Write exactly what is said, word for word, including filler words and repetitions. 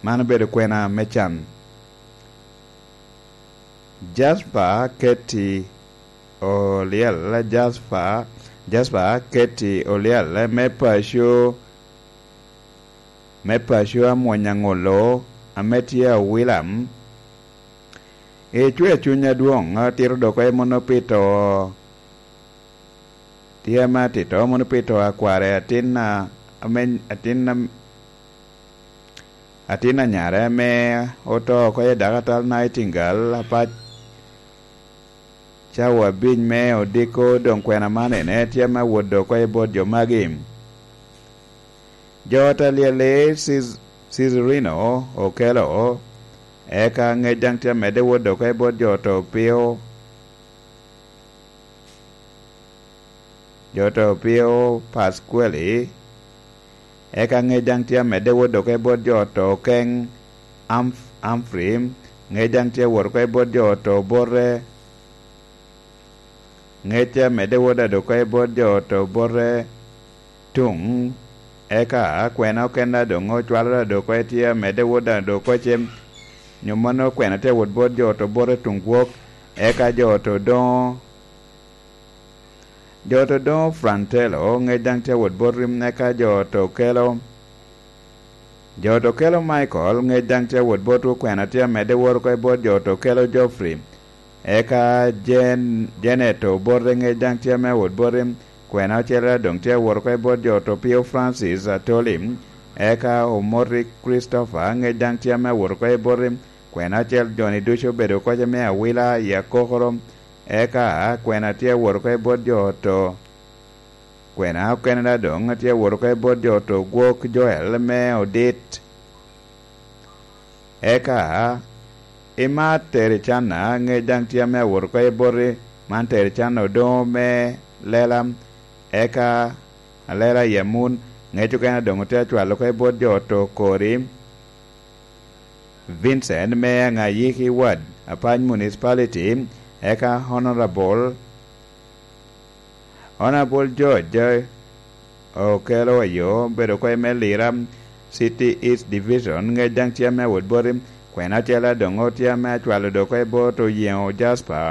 Man obedo kwena me can. Jasper Keti Olyel, Jasper, Jasper Keti Olyel me paco, me paco Amwony Aŋolo, ame tye Awilam. Icwea cuny adwoŋ, atito dok emo no pi to. Tye ame atito mono pi to a kware, atin a, ame, atin a, atin anyare ame oto oko i dakatal Nightingale apac. Cawa abic me odiko doŋ kwena man ene tye ame awot dok oko i bot jo magi. Jo ot alyel-li Cis-, Cicirino Okelo, eka ŋec daŋ tye amedde wot dok oko i bot jo oto Pio. Jo oto Pio Pasquali, eka ŋec daŋ tye amedde wot dok oko i bot jo oto Okeng Amf-, Amfri, ŋec daŋ tye wot oko i bot jo oto Bote, ŋec tye amedde wot dok oko i bot jo oto Bote Tuŋ, eka kwena okene doŋ ocwalo dok oko tye amedde wot dok oko cem, nyo mano kwena tye wot bot jo oto Bote Tuŋ Gwok, eka jo oto Doŋo, jo oto Doŋo Frantelo, ŋec daŋ tye wot bot rim, eka jo oto Okelo, jo oto Okelo Michael, ŋec daŋ tye wot bot kwena tye amedde wot oko i bot jo oto Okelo Geoffrey, eka Jen-, Janet Obote, ŋec daŋ tye ame wot bot rim, kwena ocele doŋ tye wot oko i bot jo oto Pio Francis Atoli, eka Omoti Christopher, ŋec daŋ tye ame wot oko i bot rim, kwena ocel joni ducu obedo oko me awila i akokoro, eka kwena tye wot oko i bot jo oto. Kwena okene doŋ tye wot oko i bot jo oto Gwok Joel me Odit. Eka, i mar Tericana, ŋec daŋ tye ame awot oko i boti, man Tericana Odoŋo me Lela, eka Alela Yamun, ŋec okene doŋ tye acwalo oko i bot jo oto Kori. Vincent me Aŋayiki Ward, Apac Municipality, eka Honorable, Honorable George Okelo Ayo, bedo oko i me Lira City East Division, ŋec daŋ tye ame awot boti, kwena ocele doŋ tye ame acwalo dok oko i bot Oyeŋo Jasper.